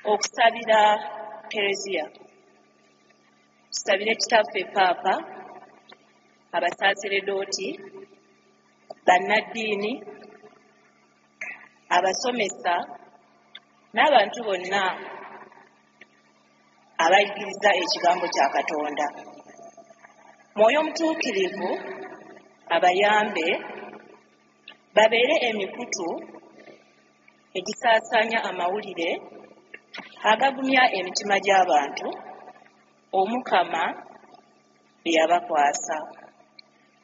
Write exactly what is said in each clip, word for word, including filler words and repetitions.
Okusabira Kereziya. Tusabire Kitaffe Paapa, abasaaseredooti, bannaddiini, abasomesa n'abantu bonna abayigiriza ekigambo kya Katonda. Mwoyo Mutuukirivu abayambe babeere emikutu egisaasaanya amawulire agagumya emitima gy'abantu Omukama bye yabakwasa.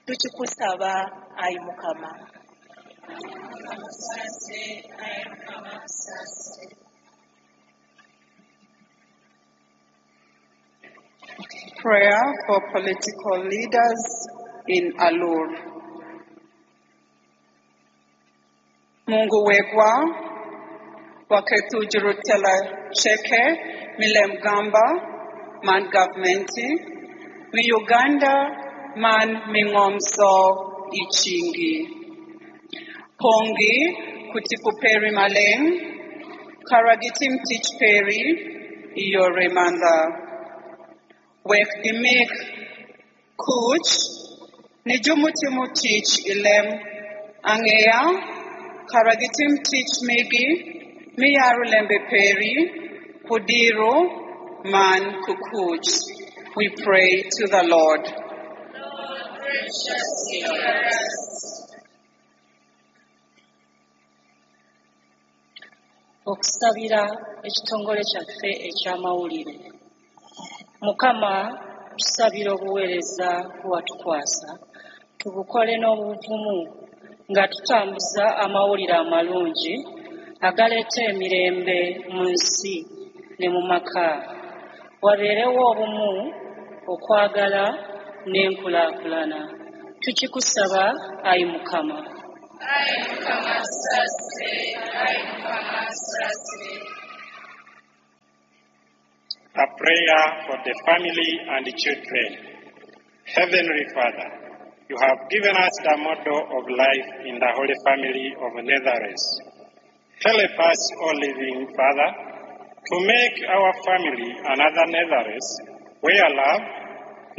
Tukikusaba ayi Mukama. Prayer for political leaders in Alur. Mungu wegwa waketujurutela cheke milemgamba man governmenti mi Uganda man mingomso ichingi. Pongi kutikuperi maleng karagitim teach peri iyore manda. Wek gimik kuch nijumutimu teach ilem angea karagitim teach migi miyarulembe peri kudiro man kukuch. We pray to the Lord. Lord, graciously hear us. Okusabira ekitongole kyaffe eky'amawulire. Mukama, tusabira obuweereza bwatukwasa tubukole n'obuvumu nga tutambuza amawulire amalungi agaleeta emirembe mu nsi ne mu maka. Wabeerewo obumu, okwagala n'enkulaakulana. Tukikusaba ayi Mukama. Ayi Mukama tusaasire, ayi Mukama tusaasire. A prayer for the family and the children. Heavenly Father, you have given us the model of life in the Holy Family of Nazareth. Help us, O living Father, to make our family another Nazareth where love,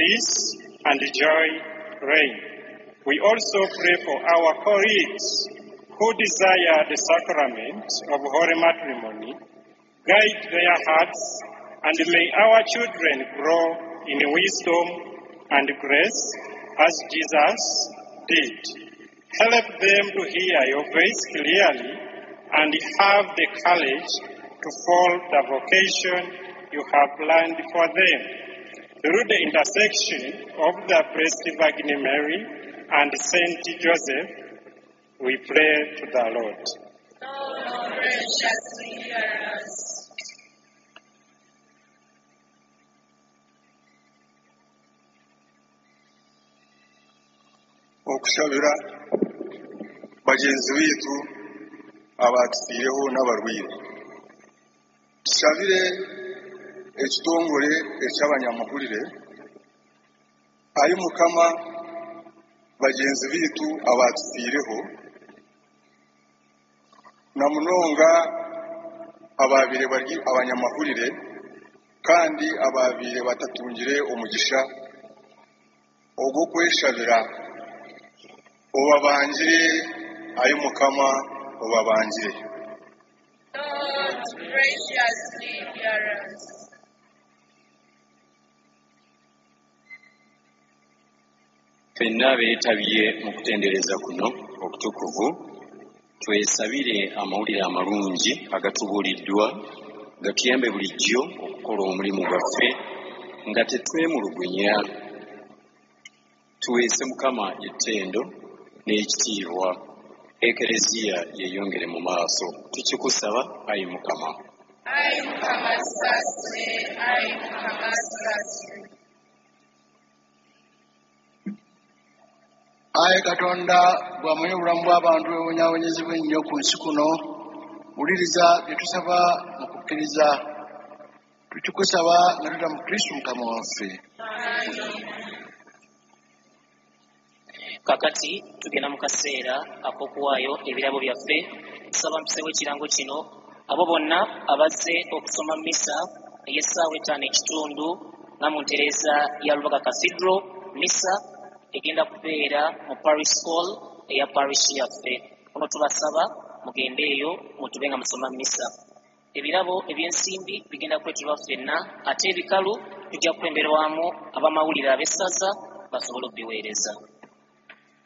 peace, and joy reign. We also pray for our colleagues who desire the sacrament of holy matrimony. Guide their hearts, and may our children grow in wisdom and grace as Jesus did. Help them to hear your voice clearly and have the courage to follow the vocation you have planned for them. Through the intercession of the Blessed Virgin Mary and Saint Joseph, we pray to the Lord. Lord, graciously hear us. Okushabira bagenzi bitu abatufiireho n'abarwire. Tushabire ekitongole eky'abanyamahurire ayi Mukama bagenzi bitu abatufiireho na munonga ababire bari abanyamahurire kandi ababire batatungire omugisha ogw'okweshabira obabangire ayi Mukama obabangire. Lord, graciously hear us. Ffenna beetabye mu kutendereza kuno okutukuvu twesabire amawulire amalungi agatubuuliddwa gatuyambe bulijjo okukola omulimu gwaffe nga tetwemulugunya. Tuweese Mukama ettendo n'ekitiibwa, Ekereziya yeeyongere mu maaso. Tukikusaba ayi Mukama. Ayi Mukama tusaasire, ayi Mukama tusaasire. Ayi Katonda, bw'amanyi obulamu bw'abantu bwebonyaabonyezebwa ennyo ku nsi kuno, wuliriza bye tusaba mu kukkiriza. Tukikusaba nga tuyita mu Kristo Mukama waffe. Kakati tugenda mu kaseera ak'okuwaayo ebirabo byaffe. Nsaba mpiseewo ekirango kino Abo bonna abazze okusoma misa ey'essaawa ettaano ekitundu nga mu ntereeza ya Lubaga Cathedral, misa egenda kubeera mu Parish Hall eya parish yaffe. Kuno tubasaba mugende eyo mutube nga musoma misa. Ebirabo ebyensimbi bigenda kuleeterwa ffenna, ate ebikalu tujja kukulemberwamu abamawulire ab'essaza basobole okubiweereza.